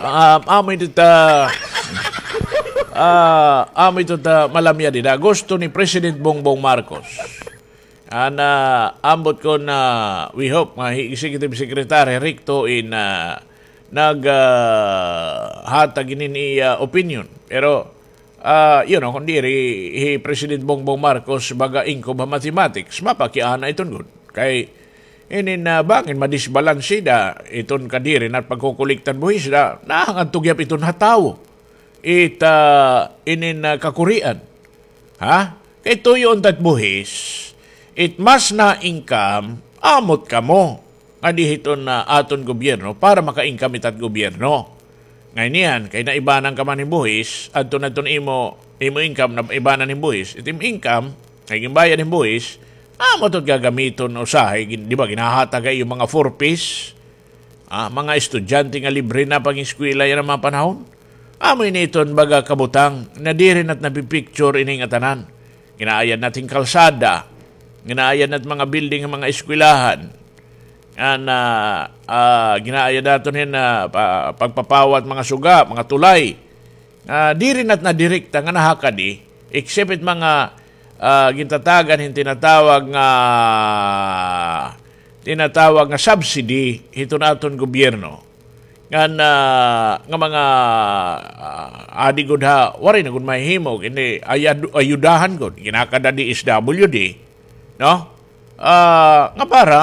ah, amo ito ta, ah, amo ito ta malamya dida. Gusto ni President Bongbong Marcos. An, ah, ambot kon, ah, we hope nga hi Executive Secretary Ricto in, ah, nag, ah, hatag ini iya opinion. Pero, ah, you know, kon diri hi President Bongbong Marcos baga ingkob ha mathematics, mapakiana iton gud. Kay inin, ah, bangin madisbalanse da iton kadiri na pagkukuliktan buhis da, nahangadto gihap iton ha tawo. It, ah, inin, ah, kakurian. Ha? Kay tuyo unta it buhis, it mas na-income, amot kamo nga diri hiton, ah, aton gobyerno para maka-income it at gobyerno. Ngay niyan, kay naibanan ka man hin buhis, adto na iton imo, imo income naibanan hin buhis. It im income, kay ginbayad hin buhis, amot it gagamiton usahay, gin-, di ba, ginhahatag ha iyo mga four Ps, ah, mga estudyante nga libre na pag-eskwela yana mga panahon. Amo ini iton baga kabutang na diri na it napipicture ini ngatanan. Ginaayad na it hin kalsada, ginaayad na it mga building han mga eskwelahan. An, ah, ah, ginaayad naton hin, ah, pa-, pagpapawa it mga suga, mga tulay. Ah, diri na it nadirekta nga nahakadi, except it mga, ah, gintatagan hin tinatawag nga, tinatawag nga subsidy hiton aton gobyerno. Ngan, ah, nga mga, ah, adi gud ha, waray na gud mahihimo, kini ayad-, ayudahan gud, ginakada D S W D, no? Ah, nga para,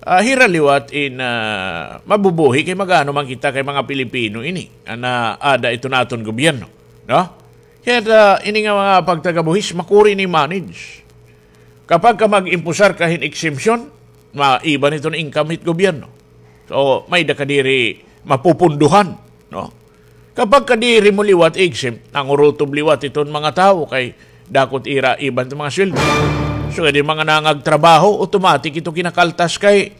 ah, hira liwat in, ah, mabubuhi kay mag-ano man kita kay mga Pilipino ini. An, ah, ada iton aton gobyerno, no? Kay, ah, ini nga mga pagtagabuhis, makuri ni manage. Kapag ka mag-impusar ka hin exemption, maiba iton income hit gobyerno. So, may-ada ka diri mapupunduhan, no? Kapag ka diri mo liwat exempt, nangurutob liwat iton mga tawo kay dako it ira iban it mga sweldo. So, kay di mga nangagtrabaho, automatic ito kinakaltas kay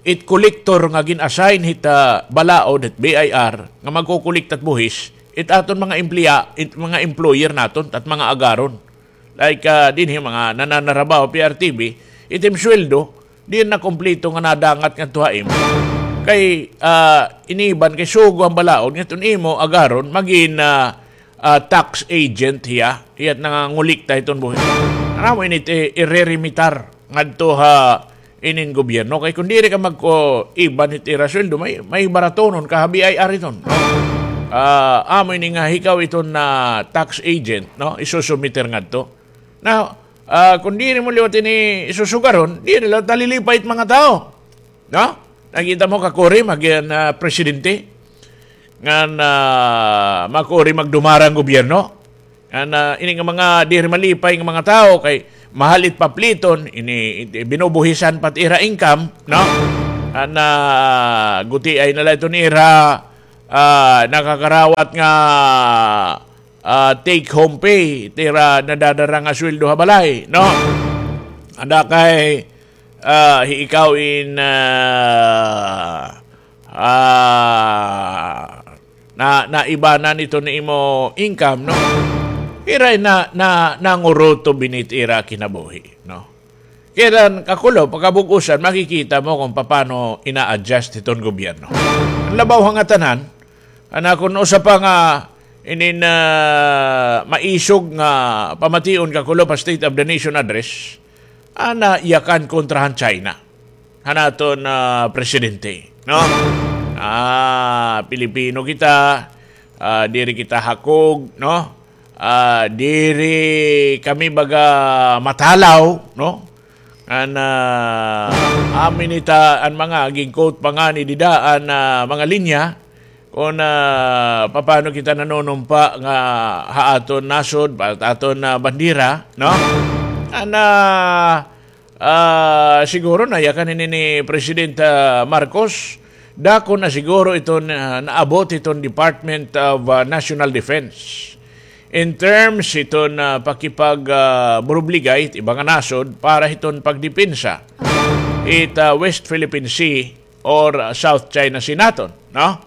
it kolektor nga gin-assign hit, ah, balaod, hit B I R, nga magkokolekta hit buhis, it aton mga empleya-, it mga employer naton, it mga agaron. Like, ah, dinhi mga nananarabaho, P R T V, it im sweldo, di na kompleto nga nadangat ngadto ha imo. Kay, ah, iniban kay sugo an balaod, ngadto imo agaron, magin, ah, ah, tax agent hiya, hiya it nangangolekta hiton buhis. Ano mo ini it i-, ireremitar ngadto ha inin gobyerno. Kay kon diri ka magko-, iban hit ira sweldo, may, may baratonon ka ha B I R iton. Ah, amo ini nga hikaw iton na tax agent, no? Isusumiter ngadto. Now, ah, kon diri mo liwat ini isusugaron, diri liwat nalilipay it mga tawo. No? Nakita mo, kakuri, magin, ah, presidente. Ngan, ah, makuri magdumara an gobyerno. An, ah, ini nga mga diri malipay nga mga tawo kay mahal it papliton, ini, ini binubuhisan pa it ira income, no? An, ah, gutiay na la iton ira, ah, nakakarawat nga, ah, take home pay, it ira nadadara nga sweldo ha balay, no? Ada kay, ah, hi ikaw in, ah, ah, na, naibanan iton imo income, no? Ira na, na, nangurutob ini it ira kinabuhi, no? Kay an kakulo, pagkabug-osan, makikita mo kon paano ina-adjust hiton gobyerno. An labaw ha ngatanan, an akon usa pa nga inin, ah, maisog nga pamation kakulo pa State of the Nation Address, an, ah, yakan kontra han China han aton, ah, presidente, no? Ah, Pilipino kita, ah, diri kita hakog, no? Ah, diri kami baga matalaw, no? An, ah, amin ita an mga gin-quote pa ngani dida an, ah, mga linya, kon, ah, papaano kita nanunumpa nga ha aton nasod, pa-, aton, ah, bandera, no? An, ah, ah, siguro nayakan ini ni Presidente, ah, Marcos, Dako na siguro iton, ah, naabot iton Department of, ah, National Defense. In terms iton, ah, pakipag, ah, burubligay it iba nga nasod para hiton pagdepensa it, ah, West Philippine Sea or, ah, South China Sea naton, no?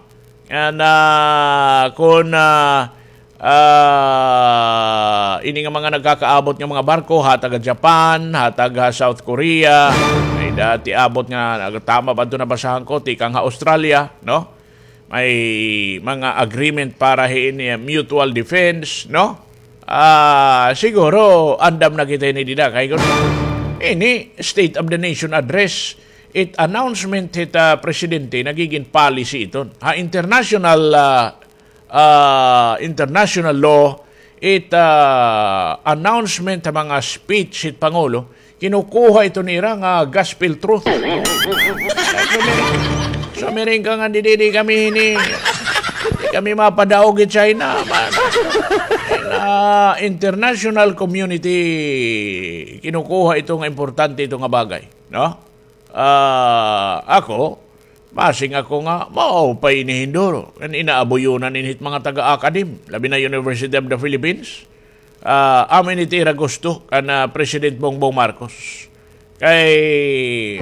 And, ah, kun, ah, ah, ini nga mga nagkakaabot nga mga barko, hatag ha Japan, hatag ha South Korea, may dati abot nga, nagtama ba ito nabasahan ko, tikang ha Australia, no? May mga agreement para hin, eh, mutual defense, no? Ah, siguro, andam na kita ini dida. Kay kun ini State of the Nation Address, it announcement hit, ah, presidente, nagigin policy iton. Ha international, ah, ah, international law, it, ah, announcement ha mga speech hit Pangulo, kinukuha ito nira nga gospel truth. So, miring ka nga, didi, di kami hini, di kami mapadaog hi China. Ma-, na international community, kinukuha ito nga importante ito nga bagay, no? Ah, ako, masing ako nga, maupay ini hinduro. Ngan inaabuyonan ini hit mga taga-academe, labi na University of the Philippines. Ah, amo ini it ira gusto kan, ah, President Bongbong Marcos. Kay,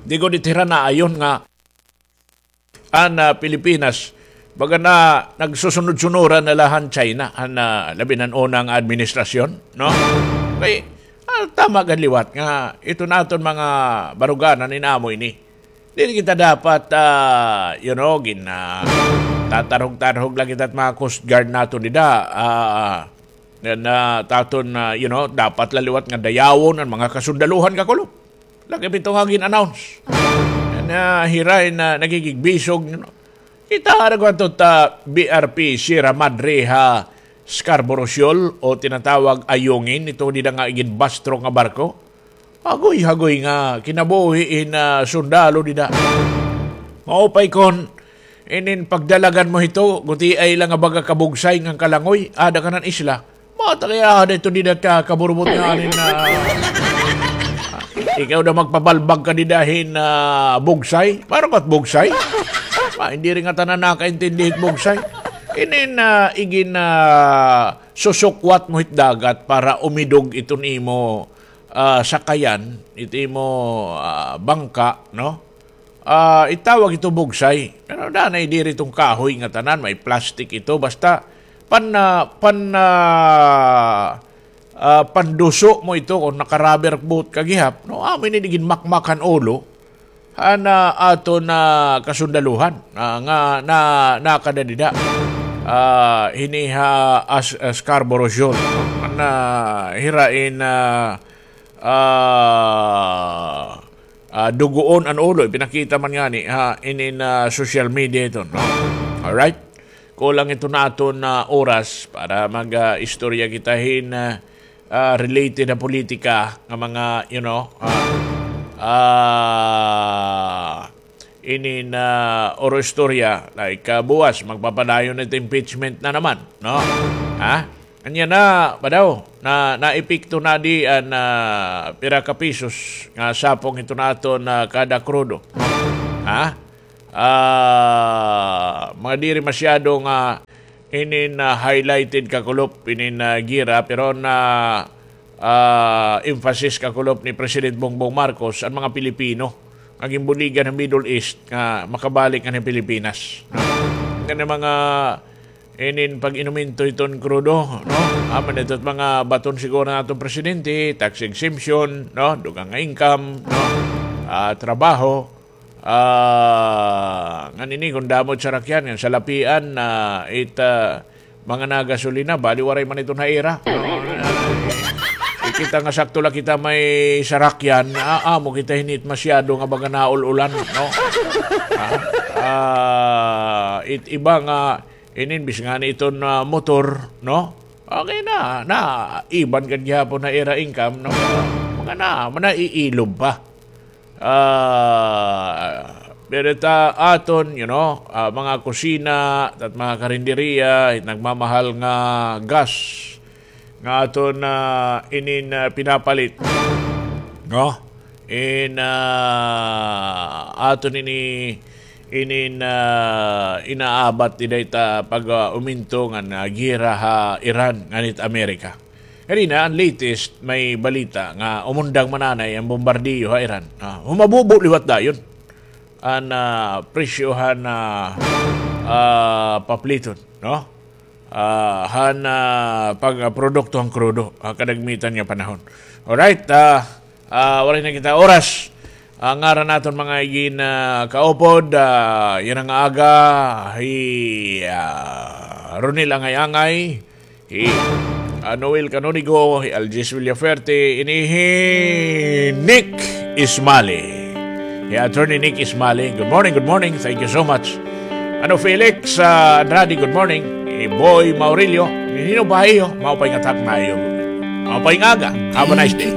di gud it ira naayon nga an, ah, Pilipinas, baga na nagsusunod-sunuran na la han China, han, ah, labi na han una nga administrasyon, no? Kay, ah, tama gad liwat nga iton aton mga baruganan in-amo ini. Diri kita dapat, ah, you know, gin, ah, tatarhog-tarhog la kita hit mga Coast Guard naton dida, ah, nga, ah, it aton, ah, you know, dapat la liwat nga dayawon an mga kasundaluhan, kakulop. Lakip ito nga gin-announce. Nga hira in, ah, nagigigbisog, you know. Kita ra gud ito ta B R P Sierra Madre ha Scarborough Shoal o tinatawag Ayungin, ito dida nga iginbastro nga barko. Hagoy-hagoy nga kinabuhi hin, ah, sundalo dida. Maupay kon inin pagdalagan mo hito, gutiay la nga baga kabugsay ngan kalangoy, ada kanan isla. Mata kay ada ito dida ka kaburbot nga anin na, ikaw daw magpabalbag ka dida hin, ah, bugsay. Maaram ka hit bugsay? Ah, hindi rin nga tanan nakaintindi hit bugsay. Inin, ah, igin, ah, susukwat mo hit dagat para umidog iton imo, ah, sakayan, it imo, ah, bangka, no? Ah, itawag ito bugsay. Pero danay diri iton kahoy nga tanan, may plastic ito. Basta pan-, ah, pan-, ah, ah, panduso mo ito kon naka-rubber boat ka gihap, no? Amo ini ginmakmak han ulo han, ah, aton kasundaluhan, ah, nga na, nakada dida. Ah, hini ha as-, ah, Scarborough Shoal, no? Nga hira in, ah, ah, ah, dugoon an ulo. Ipinakita man ngani ha inin, ah, social media ito, no? Alright? Kulang ito naton, ah, oras para mag, ah, istorya kita hin, ah, ah, related ha politika nga mga, you know, ah, ah, inin, ah, oro istorya, like, ah, buwas, magpapadayon it impeachment na naman, no? Ha? Anya na, ba daw? Na, naepekto na di an, ah, pira ka pisos nga sapong ito naton, ah, kada krudo. Ha? Ah, mga diri masyado nga inin, ah, highlighted kakulop, inin, ah, gira, pero na, ah, emphasis kakulop ni President Bongbong Marcos an mga Pilipino nga ginbuligan ha Middle East nga makabalik nganhi Pilipinas. Kani mga inin pag-inumento hiton krudo, no? Amo na ito it mga baton siguro han aton presidente, tax exemption, no? Dugang nga income, no? Ah, trabaho. Ah, ngan ini kon damo it sarakyan, ngan salapian, ah, it, ah, mga nagasolina, bali waray man iton ha ira. No? Ah, kita nga sakto la kita may sarakyan, ah, amo kita hini it masyado nga baga naul-ulan, no? Ah, ah, it iba nga inin bis ngani iton, ah, motor, no? Okay na, na, iban gad gihapon ha ira income, no? Mga na, manaiilob pa. Ah, pero ta aton, you know, ah, mga kusina, it mga karinderiya, it nagmamahal nga gas, nga aton, ah, inin, ah, pinapalit. No? In, ah, aton ini inin, ah, inaabat dida ita pag, ah, uminto ngan, ah, giyera ha Iran ngan it Amerika. Ganina, an latest, may balita nga umundang man anay an bombardiyo ha Iran. Ah, humabubo liwat dayon an, ah, presyo han, ah, ah, papliton, no? Ah, han, ah, pagprodukto han krudo, ha kadagmitan nga panahon. Alright, ah, ah, waray na kita oras. An ngaran naton mga igin, ah, kaupod, ah, yana nga aga, hi, ah, Ronel Angay-Angay, hi, ah, Noel Canonigo, hi Algis Villaferte, ini hi Nick Ismali. Hi Attorney Nick Ismali. Good morning, good morning. Thank you so much. Ano, Felix, ah, Andrade, good morning. Hi Boy Maurilio, hin-o ba iyo? Maupay nga takna iyo. Maupay nga aga. Have a nice day.